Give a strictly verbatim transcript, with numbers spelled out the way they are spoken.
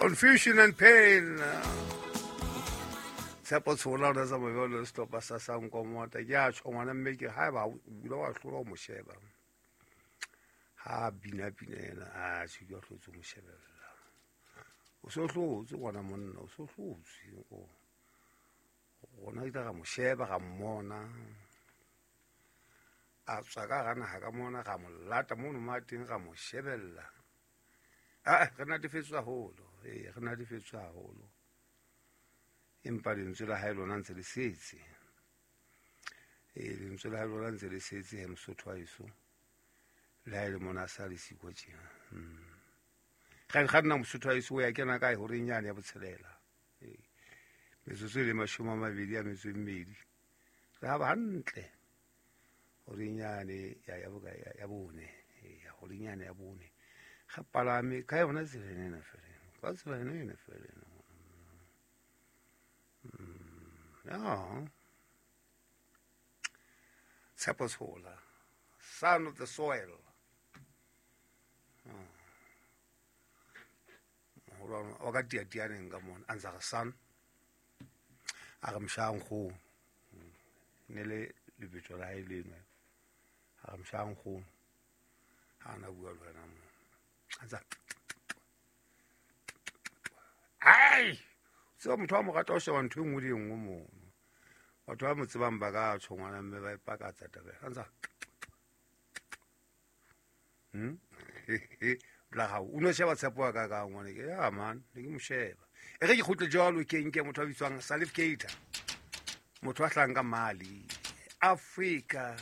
Confusion and pain. Tshepo Tshola o na tsa mobele sehlopha sa Sankomota. Ke a tjho ngwana mme ke haeba o ile wa hlola ho mo sheba. Ha bina pina ena, a tjho ke hlotse mo shebella. O so hlotse ngwana monna, o so hlotse. O rona ke ra mo sheba ra mmona. A tswa ka hara naha ka mona ra mo lata mono mo a teng ra mo shebella. Ah, re natefetswe haholo. Eh, re natefetswe haholo. Empa lentswe la hae lona ntse le setse. Eh, lentswe la hae lona ntse le setse he Mosotho wa heso. Le ha e le mona a sa le siko tjena. Mm. Ga ga nna Mosotho wa heso o ya kena kae horeng yane ya botshelela. Eh. Metsotso e le mashome a mabedi a metso e mmedi. Re ha ba hantle. Horeng yane ya ya boka ya, ya bone. Eh, ya horeng yane ya bone. Ga palame ka yona tsela ena fela. Ka tsela ena ena fela. Mm, yeah. Tshepo Tshola, son of the soil. Moholo wa ka tiatianeng ka mona a ntse a re son a re mosha nkgono ne le lebitso la hae leno a re mosha nkgono ha na bua le wena mo a ntse ai tseo motho wa mo rata o sheba ntho e nngwe le e nngwe mono batho ba mo tsebang ba ka tjho ngwana mme ba ipakatsa taba a ntse hm la hao o no sheba tshepo ya ka ka ngwana ke ya man ne ke mo sheba e re ke kgutle jwalo ke nke motho a bitswang Salif Keita motho a hlang ka Mali Africa.